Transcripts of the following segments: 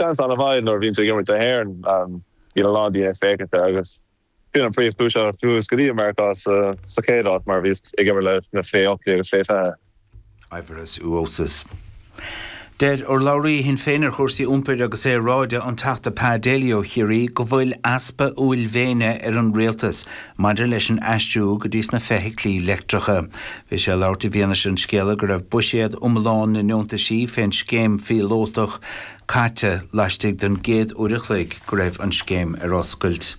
Seans an-mhaith nuair a bhíonn tú ag imirt do hÉirinn, bíonn a lán daoine ag féachaint air agus sin an príomhchúis a chuas go dtí Meiriceá sa chéad áit mar bhíos ag imirt leis na fé 18 agus fé 20. Aivaras Uosis. Deir urlabhraí Shinn Féin ar chúrsaí iompair agus aeráide, an Teachta Pa Daly ó Chiarraí, go bhfuil easpa uaillmhéine ar an rialtas maidir leis an aistriú go dtí sna feithiclí leictreacha. Bhí sé ag labhairt i bhfianaise an scéala go raibh buiséad iomlán na ndeontaisí fén scéim phíolótach caite laistigh den gcéad uair a chloig go raibh an scéim ar oscailt.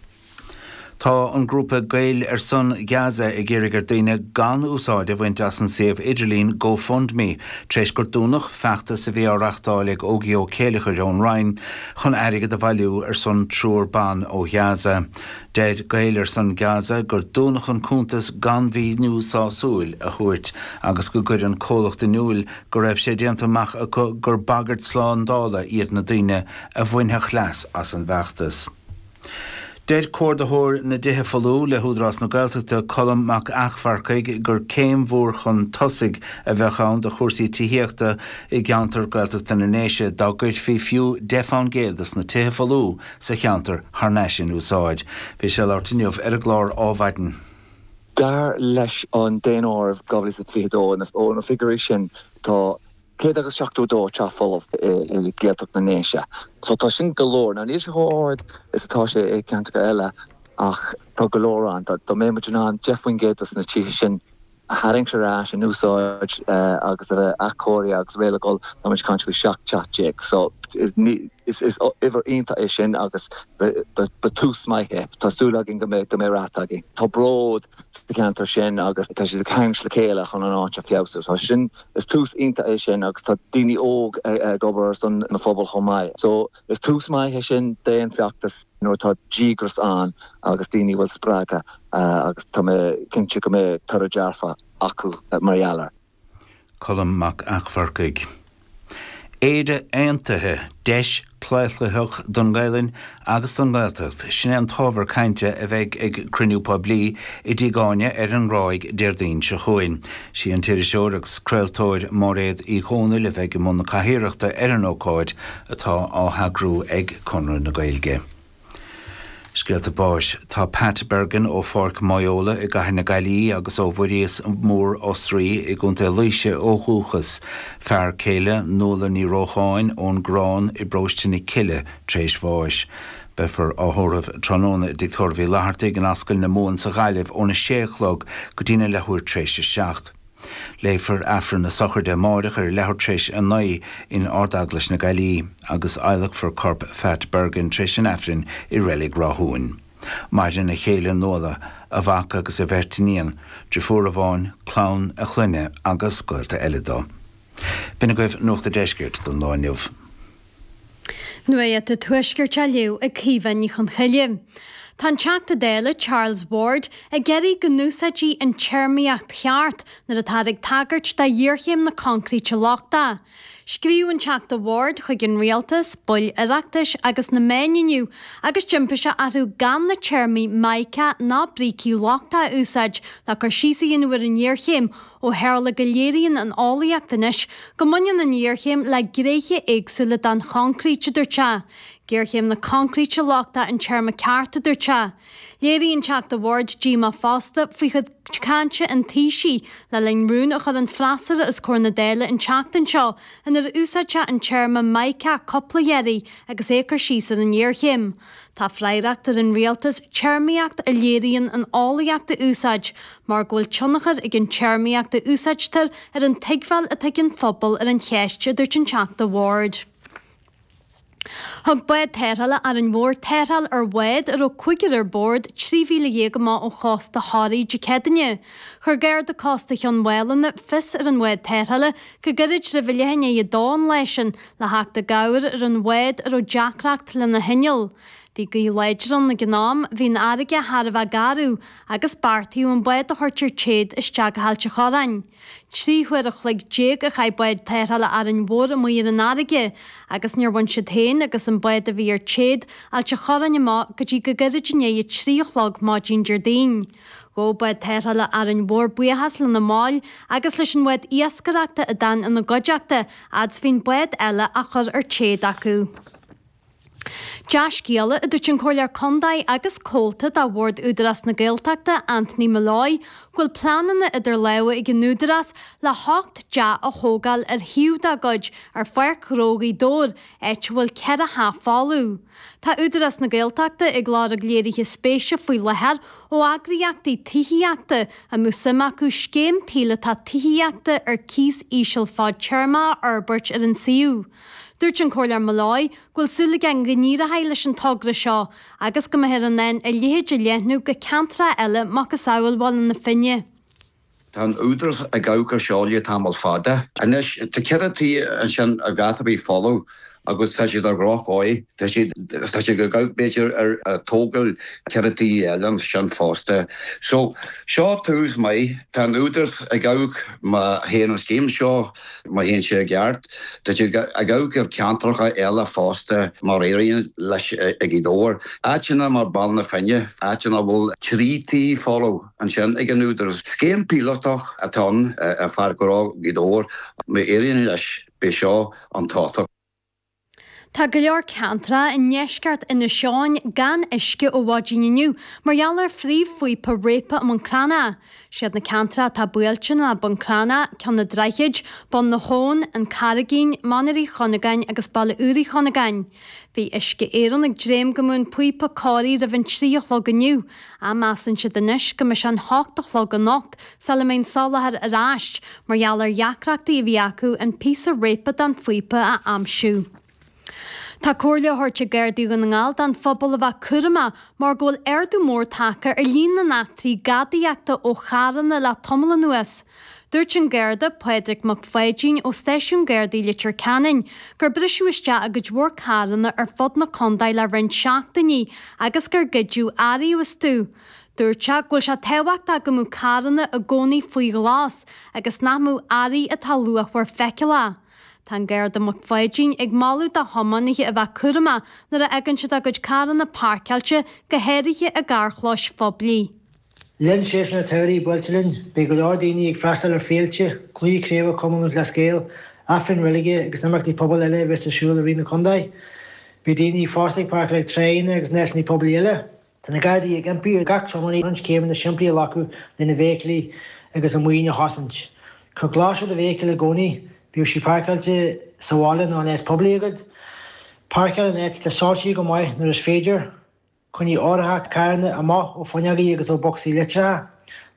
Tá an grúpa Gaeil ar son Gaza ag iarraidh ar daoine gan úsáid a bhaint as an suíomh idirlín GoFundMe tar éis gur dúnadh feachtas a bhí á reachtáil ag Ógie Ó Céileachair ón Rinn chun airgead a bhailiú ar son triúr ban ó Ghaza. Deir Gaeil ar son Gaza gur dúnadh an cuntas gan mhíniú sásúil a thabhairt agus go gcuir an comhlacht in iúil go raibh sé déanta amach acu gur bagairt slándála iad na daoine a bhainfeadh leas as an bhfeachtas. Deir Comhordaitheoir na dTithe Folmha le hÚdarás na Gaeltachta, Colm Mac Eachmharcaigh, gur céim mhór chun tosaigh a bheadh ann do chúrsaí tithíochta i gceantar Gaeltachta na nDéise dá gcuirfí fiú 10 fán gcéad dos na tithe folmha sa cheantar thar n-ais in úsáid. Bhí sé ag labhairt inniu ar an gclár Ádhmhaidin. Dar leis an Daonáireamh 2022, ó na figiúirí sin, tá 100 agus 72 teach folamh i Gaeltacht na nDéise. So tá sin go leor. Now níl sé chomh ard is atá sé i gceantracha eile ach tá go leor ann. Dá mbeadh muid in ann 10% dos na tithe sin a tharraingt ar ais in úsáid agus a bheith athchóirithe agus réidh le dhul, tá muid ag caint faoi 17 teach. So is uimhir iontach é sin agus ba tús maith é. Tá súil againn go mbeidh rath againn. Tá bród sa cheantar sin agus tá siad ag tarraingt le chéile chun an áit a feabhsú. Tá sin Is tús iontach é sin agus tá daoine óg ag obair ar son na phobal chomh maith. So is tús maith é sin d'aon feachtas nuair atá díograis ann agus daoine a bhfuil spreagtha agus tá mé cinnte go mbeidh toradh dearfach acu mar gheall air. Colm Mac Eachmharcaigh. Éire Aontaithe, deis chlaochlaitheach don nGaelainn agus don nGaeltacht, sin é an t-ábhar cainte a bheidh ag cruinniú poiblí i dTigh Áine ar an nGráig Déardaoin seo chugainn. Sí an t-iriseoir agus craoltóir Máiréad Uí Dhomhnaill a bheidh i mbun na cathaoireachta ar an ócáid atá á heagrú ag Conradh na Gaeilge. Scéalta báis. Tá Pat Bergin ó Pháirc Mhaigheola i gCathair na Gaillimhe agus ó Bhuiríos Mór Osraí i gContae Laoise ó dhúchas. Fear céile Nuala Ní Rócháin ón gCorrán i bparóiste na Cille tréis bháis. Beifear á thórramh tráthnóna i dTigh Tórraimh Uí Fhlathartaigh in Ascaill na Mumhan sa Ghaillimh óna sé a chlog go dtína leathuair tréis a 7. Léifear Aifreann na sochraide amáireach ar a leathuair tréis 9 in Ard-Eaglais na Gaillimhe agus adhlacfar corp Phat Bergin tréis an Aifrinn i Reilig Ráthúin. Maireann a chéile Nuala, a mhac agus a bheirt iníon, driofúr amháin, clann a chlainne agus gaolta eile dó. B'in agaibh Nuacht a' Deiscirt don lá inniu. Nuacht an Tuaiscirt á léamh ag Caoimhe Ní Chonchoille. Tá an Teachta Dála Charles Ward ag iarraidh go n-úsáidfí an téarmaíocht cheart nuair atáthar ag tagairt do ghéarchéim na coincréite lochtaí. Scríobh an Teachta Ward chuig an Rialtas, baill Oireachtais agus na meáin inniu agus d'impigh sé orthu gan na téarmaí 'mica' ná 'brící lochtacha' a úsáid le cur síos a dhéanamh ar an ngéarchéim ó tharla go léiríonn an eolaíocht anois go mbaineann an ghéarchéim le gnéithe éagsúla den choincréit, a dúirt sé. Géarchéim na coincréite lochtaí an téarma ceart, a dúirt sé. Léirigh an Teachta Ward díomá fosta faoi chuid cainte an Taoisigh le linn rún a chuir an freasúra os comhair na Dála an tseachtain seo inar úsáid sé an téarma 'mica' cúpla iarraidh agus é ag cur síos ar an ngéarchéim. Tá freagracht ar an rialtas téarmaíocht a léiríonn an eolaíocht a úsáid mar go bhfuil tionchar ag an téarmaíocht a úsáidtear ar an tuigbheáil atá ag an phobal ar an cheist, a dúirt an Teachta Ward. Thug bád tarrthála Árainn Mhór tarrtháil ar bhád a raibh cúigear ar bord, 13 mhíle amach ó chósta Thoraí Dé Céadaoine. Chuir Garda Cósta Chionn Mhálanna fios ar an bhád tarrthála go gairid roimh a leath i ndiaidh a dó an lá sin le theacht i gcabhair ar an bhád a raibh deacracht lena hinneall. Bhí gaoth láidir ann ag an am, bhí an fharraige thar a bheith garbh agus beartaíodh an bád a thabhairt ar téad isteach go hAilt an Chorráin. 13 huair a chloig a chaith bád tarrthála Árainn Mhór amuigh ar an fharraige agus níor bhain siad féin agus an bád a bhí ar téad Ailt an Chorráin amach go dtí go gairid i ndiaidh a trí a chlog maidin Déardaoin. Ghabh bád tarrthála Árainn Mhór buíochas lena mbaill agus leis an bhád iascaireachta a d'fhan ina gcuideachta fhad 's bhí an bád eile á chur ar téad acu. Dea-scéala, a dúirt an Comhairleoir Contae agus Comhalta de Bhord Údarás na Gaeltachta, Anthony Molloy, go bhfuil pleananna idir lámha ag an Údarás le hocht dteach a thógáil ar shuíomh dá gcuid ar Pháirc Ghnó Ghaoth Dobhair, áit a bhfuil 4 theach folamh. Tá Údarás na Gaeltachta ag lorg léirithe spéise faoi láthair ó eagraíochtaí tithíochta a mbeadh suim acu scéim píolótach tithíochta ar cíos íseal fadtéarmach a fhorbairt ar an suíomh. Dúirt an Comhairleoir Molloy go bhfuil súil aige go n-éireoidh leis an togra seo agus go mbeifear in ann a leithéid a leathnú go ceantracha eile macasamhail Bhaile na Finne. Tá an Údarás ag amharc ar seo le tamall fada. Anois, tá 4 tí ansin ar dhath ar bith folamh agus tá siad ar dhroch-dhóigh. Tá siad, tá siad ag amharc b'fhéidir ar tógáil 4 tí eile ansin fosta. So, seo tús maith. Tá an Údarás ag amharc má théann an scéim seo, má théann sé i gceart, tá siad ag amharc ar ceantracha eile fosta má éiríonn leis i Gaoth Dobhair. Áiteanna mar Baile na Finne, áiteanna a bhfuil 3 tí folamh. ansin ag an Údarás. Scéim píolótach atá ann ar Pháirc Ghnó Ghaoth Dobhair. Má éiríonn leis, beidh seo an tábhachtach. Tá go leor ceantracha i ndeisceart Inis Eoghain gan uisce ó mhaidin inniu mar gheall ar phríomhphíopa réabtha i mBun Cranncha. Siad na ceantracha atá buailte ná Bun Cranncha, Ceann an Droichid, Bun na hAbhann, An Carraigín, Mainéar Uí Chuinneagáin agus Baile Úr Uí Chuinneagáin. Bhí Uisce Éireann ag dréim go mbeadh an píopa cóirithe roimh an 3 a chlog inniu, ach measann siad anois go mbeidh sé an 8 a chlog anocht sula mbeidh an soláthar ar ais, mar gheall ar dheacrachtaí a bhí acu an píosa réabtha den phíopa a aimsiú. Tá comhairle á thabhairt ag Gardaí Dhún na nGall don phobal a bheith cúramach mar go bhfuil ardú mór tagtha ar líon na n-eachtraí gadaíochta ó charranna le tamall anuas. Dúirt an Garda, Pádraig Mac Pháidín ó Stáisiún Gardaí Leitir Ceanainn, gur briseadh isteach i gcuid mhór carranna ar fud na contae le roinnt seachtainí agus gur goideadh earraí astu. Dúirt sé go bhfuil sé tábhachtach go mbeadh carranna i gcónaí faoi ghlas agus nach mbeadh earraí atá luachmhar feiceálach. Tá an Garda Mac Pháidín ag moladh do thiománaithe a bheith cúramach nuair a fhágann siad a gcuid carranna páirceáilte, go háirithe i gcarrchlóis phoiblí. Le linn séasúr an tsamhraidh buailte linn, beidh go leor daoine ag freastal ar féilte, cluichí craoibhe Chumann Lúthchleas Gael, Aifrinn reilige agus imeachtaí pobail eile a bheas ar siúl i rith na contae. Beidh daoine fosta ag páirceáil ag tráigheanna agus in áiteanna poiblí eile. Tá na Gardaí ag impí ar gach tiománaí roinnt céimeanna simplí a ghlacadh lena bhfeithiclí agus a maoin a chosaint. Cuir glas ar do fheithicil i gcónaí, bíodh sí páirceáilte sa bhaile nó in áit poiblí agat. Páirceáil in áit atá soilsithe go maith nuair is féidir. Coinnigh árthach carranna amach ó fuinneogaí agus ó bhocsaí litreacha.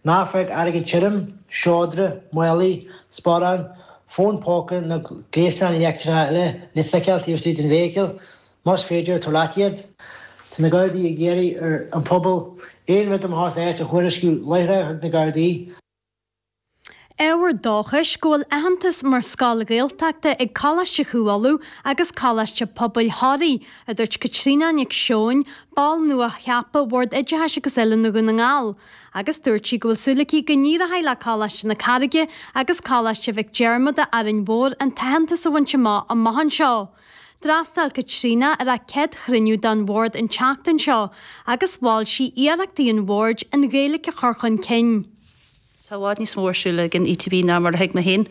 Ná fág airgead tirim, seodra, málaí, sparáin, fón póca nó gléasáin leictreacha eile le feiceáil taobh istigh den bhfeithicil. Más féidir, tabhair leat iad. Tá na Gardaí ag iarraidh ar an phobal aon rud amach as áit a thuairisciú láithreach chuig na Gardaí. Ábhar dóchais go bhfuil aitheantas mar scoil Ghaeltachta ag Coláiste Chú Uladh agus Coláiste Pobail Thoraí, a dúirt Caitríona Nic Seoin, ball nua-cheaptha Bhord Oideachais agus Oiliúna Dhún na nGall. Agus dúirt sí go bhfuil súil aici go n-éireoidh le Coláiste na Carraige agus Coláiste Mhic Diarmada, Árainn Mhór an t-aitheantas a bhaint amach amach anseo. D'fhreastail Caitríona ar a céad chruinniú den Bhord an tseachtain seo agus mhol sí iarrachtaí an Bhoird an Ghaeilge a chur chun cinn. Tá i bhfad níos mó ar siúl ag an ETB ná mar a thuig mé féin.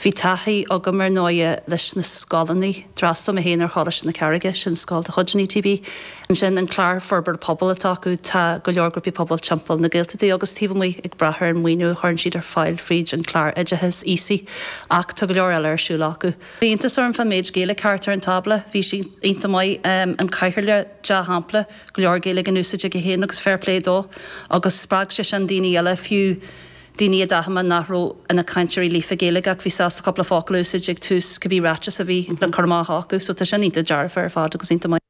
Bhí taithí agam ar ndóighe leis na scoileanna. D'fhreastail mé féin ar Choláiste na Carraige, sin scoil de chuid an ETB. Ansin an clár forbartha pobail atá acu, tá go leor grúpaí pobail timpeall na Gaeltachta agus taobh amuigh ag brath ar an maoiniú a chuireann siad ar fáil fríd an clár oideachais aosaigh ach tá go leor eile ar siúl acu. Bhí iontas orm fán méid Gaeilge thart ar an tábla, bhí sé iontach maith. An cathaoirleach, dea-shampla. go leor Gaeilge in úsáid aige féin agus fair play dó agus spreag sé sin daoine eile, fiú daoine a d'aithin mé nach raibh ina cainteoirí líofa Gaeilge ach bhí sásta cúpla focal a úsáid ag tús cibé ráiteas a bhí le cur amach acu so tá sin iontach dearfa ar fad agus iontach maith.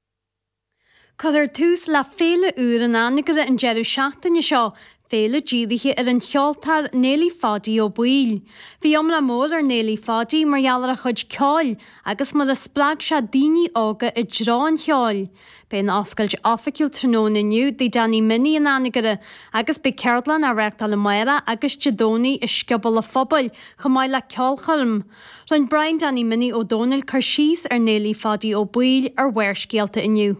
Cuirfear tús le féile úr in Anagaire an deireadh seachtaine seo, féile dírithe ar an cheoltóir Néilí Pháidí Ó Baoill. Bhí iomrá mór ar Néilí Pháidí mar gheall ar a chuid ceoil agus mar a spreag sé daoine óga i dtreo an cheoil. Beidh an oscailt oifigiúil tráthnóna inniu i dTigh Danny Minnie in Anagaire agus beidh ceardlann á reáchtáil amárach agus Dé Domhnaigh i Scioból a' Phobail chomh maith le ceolchoirm. Rinne Brian Danny Minnie Ó Dónaill cur síos ar Néilí Pháidí Ó Baoill ar Bharrscéalta inniu.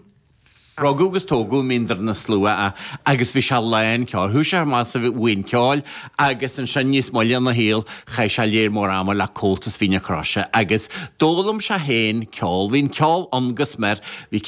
Rugadh agus tógadh i mBéal na Slua é agus bhí sé lán ceoil. Chuaigh sé amach sa bhuíon ceoil agus ansin níos moille ina shaol chaith sé léar mór ama le Comhaltas Mhín na Croise agus d'fhoghlaim sé féin ceol. Bhí an ceol ann go smior. Bhí.